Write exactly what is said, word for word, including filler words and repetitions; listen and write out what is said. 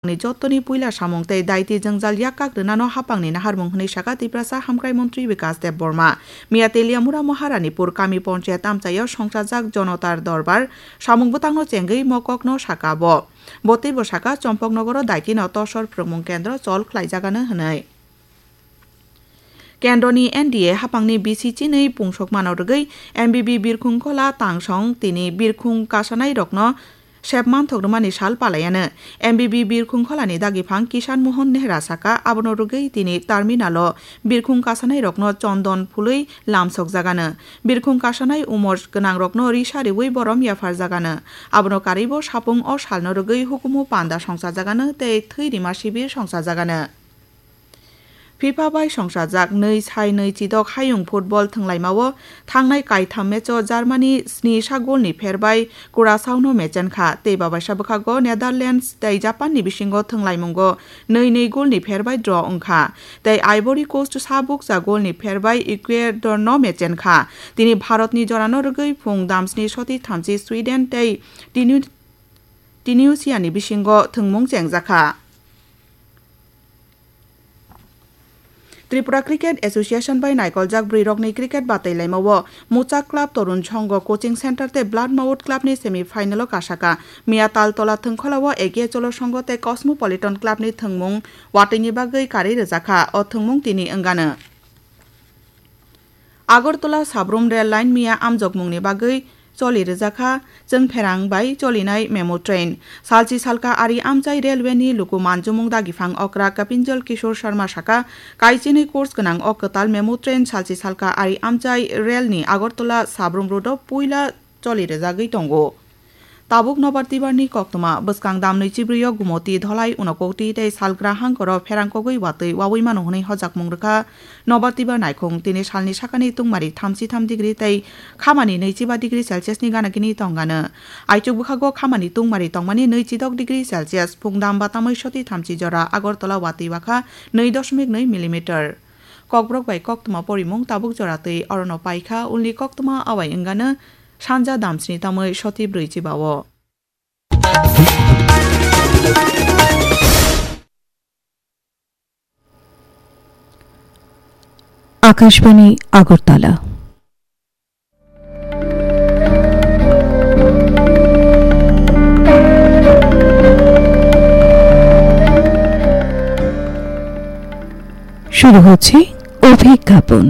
ni jottoni puila samung tei daiti jwngjal yak kak rwnano haphangni naharmung hwnwi saka Tiprasa Hamkrai Montri Bikas Debbarma. Miya Teliamura Maharanipur kami ponchayat amchaio songchajak Jonotar Dorbar samung bwtangno chengwi mokokno saka bo. Bo teibo saka Chompoknogoro daitino tosor phrwngmung kendro chol khlaijagano hwnwi. Kendroni N D A haphangni bisi chinwi pungsokmano rwgwi M B B birkhung khola tangsong tini birkhung kasanairokno sep manthok rwmani sal palaiano. M B B birkhung kholani dagiphang Kishan Mohan Nehra saka, abono rwgwi tini terminalo birkhung kasanairokno chondon phulwi lamsokjagano. Birkhung kasanai umor gwnangrokno risa riwi borom yapharjagano. Abono karwibo sapung o salno rwgwi hukumu panda songchajagano tei thwi rima sibir songchajagano. FIFA bai songchajak nwi sai nwi chidok hayung football thwnglaimao thangnai kaitham matcho Germany sni sa golni pher bai Curaçaono mechenkha tei babaisa bwkhago Netherlands tei Japanni bisingo thwnglaimungo nwi nwi golni pher bai draw wngkha tei Ivory Coast sa bukcha golni pher bai Ecuadorno mechenkha. Tini Bharatni jorano rwgwi phung damsni soti thamchi Sweden tei Tinu-, Tunisiani bisingo thwngmung chengjakha. Tripura Cricket Association bai naikoljak bwrwirokni cricket batailaimao Muchak Club Torun Songho Coaching Center tei Blood Mouth Club ni semi final o kasaka. Miya Taltola Thwngkhwlao A K Cholo Songho tei Cosmopolitan Club ni thwngmung watwini bagwi karwi rwjakha. O thwngmung tini wngano. Agartala Sabrum Rail Line miya amjokmungni bagwi choli rwjakha, chwngpherang bai cholinai memo train. Salchi salka ari amchai railway ni luku manjumung dagiphang okra Kapinjal Kishore Sharma saka, kaichinwi course gwnang o kwtal memo train salchi salka ari amchai rail ni Agartala Sabrum road o puila choli rwjagwi tongo. Tabuk Nobar Tibar ni koktwma bwskang dam nwi chibrwi o Gumoti, Dholai, Unakoti tei Salgra hangkoro pherang kogwi watwi wawi mano hwnwi hojakmung rwkha. Nobar Tibar naikhung tini salni sakani tungmari thamchi tham degree tei khamani nwichi ba degree Celsius ni gana gini tongano. Aichuk bwkhago khamani tungmari tongmani nwichi dok degree Celsius, phungdam batamwi soti thamchi jora Agartala watwi wakha nwi dosmik nwi millimeter. Kokborok bai koktwma porimung tabuk jora twi orono paikha, ulni koktwma awai wngano sanja damsni tamwi soti brwi chibao. Akashbani Agartala. শুরু হচ্ছে অভিজ্ঞাপন।